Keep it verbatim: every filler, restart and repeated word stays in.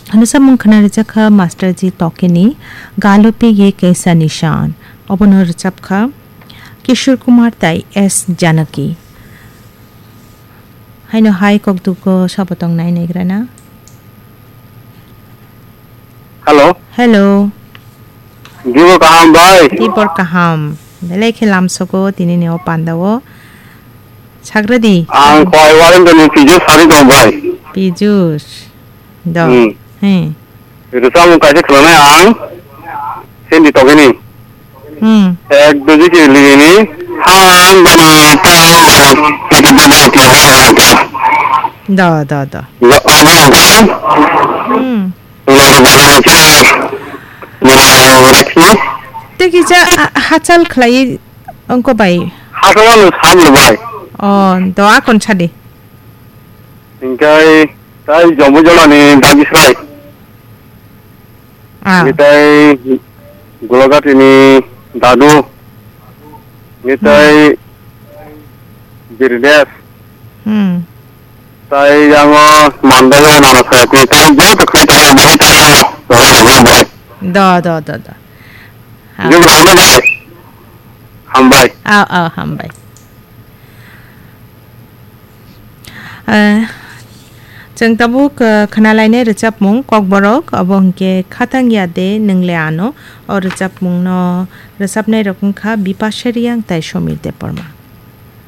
Hwnwi samung khna rwjak kha Master G Tokeni Galopi Ye Kaisa Nishan. Obono rwchap kha Kishore Kumar tai S Janaki. Haino hai kokdugo sabo tong nai naigrana. Hello. Hello. Dibo kaham bai? Dibor kaham. Belai khe lamsogo tini ni o panda o. Sagradi. Ang Koi Warendra ni Pijus sari tong bai. Pijus. Do. Hmm. He. Rwchapmung kaisa khwnanai ang, Sandy Tokeni. Hmm. Ek doji ke ligini, han bana ta bana, kita bana ti ha ta. Do, do, do. Ya, ang bana ta. Hmm. Ulo bana ta. Bana rakhi. Te kisa, a, hachal khlai ongko bai. Hachal no sam lo bai. Oh, do akon chadi. Hingkai tai Jombo Jolani Dagisrai. Ah. Ni tai Gulagati ni Dadu. Ni Hmm. tai Birdes. Hmm. Tai yango Mandai o Nana Sayati. Tai joto khe tai bai tai. Do, do, do, do. Ah. Jumra hambai. Hambai. Ah, ah, hambai. Eh, chwng tabuk, eh, khwnalainai rwchapmung Kokborok, obo hwnkhe Khatang Ya De Nwng Le Ano. O rwchapmungno rwchapnairok wngkha Bipasha Reang tai Somir Debbarma.